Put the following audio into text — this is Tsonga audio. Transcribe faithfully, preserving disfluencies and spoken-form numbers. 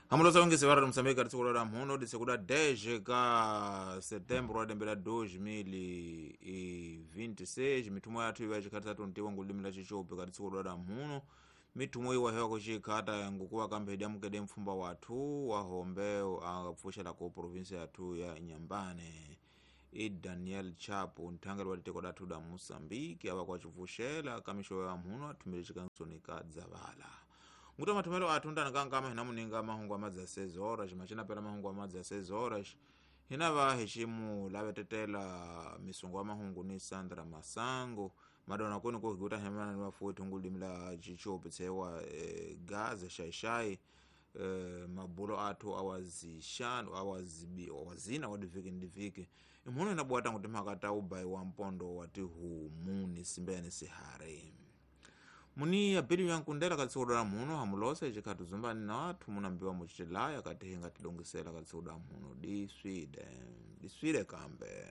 Hamulosa wengese vara Moçambique kati tsiku la mhuno ditsekuda dez ka setembro wa dembe la dois mil e vinte e seis. Mithumo yathu iwa icikhatisa tuntiwa ngulimi la Chichope kati tsiku la mhuno mithumo iwa hewa kucikhata ngukuwa kamphedi amukede mfumba wathu wahombe akapfuxela ku provinsia yathu ya Inhambane. I Daniel Chapo nthangeli wa tiko lathu la Moçambique ava kwacipfuxela kamixo ya mhuno athumile cikansoni ka dzavala. Nguta mathumelo athu ndani kankama hina muninga mahungu amadzi a seis horas macina pela mahungu amadzi a seis horas hina va hiximu lavetetela misungo ya mahungu ni Sandra Masango madona kuni kuhikuta hemana ni vafuwi thungu limi la Chichope tsewa eh, Gaza xaixai eh, mabulo athu awazixanu awazibi awazina wadiviki ni diviki imhuno inabuwata nguti mhaka ta ubayi wa mpondo wa tihumu ni simbe ni sihari. Muni apili yankundela katsiku la mhuno hamulosa icikhatu zumbani na athu munambiwa mucitilaya kati hinga tilongisela katsiku la mhuno diswide diswide kambe.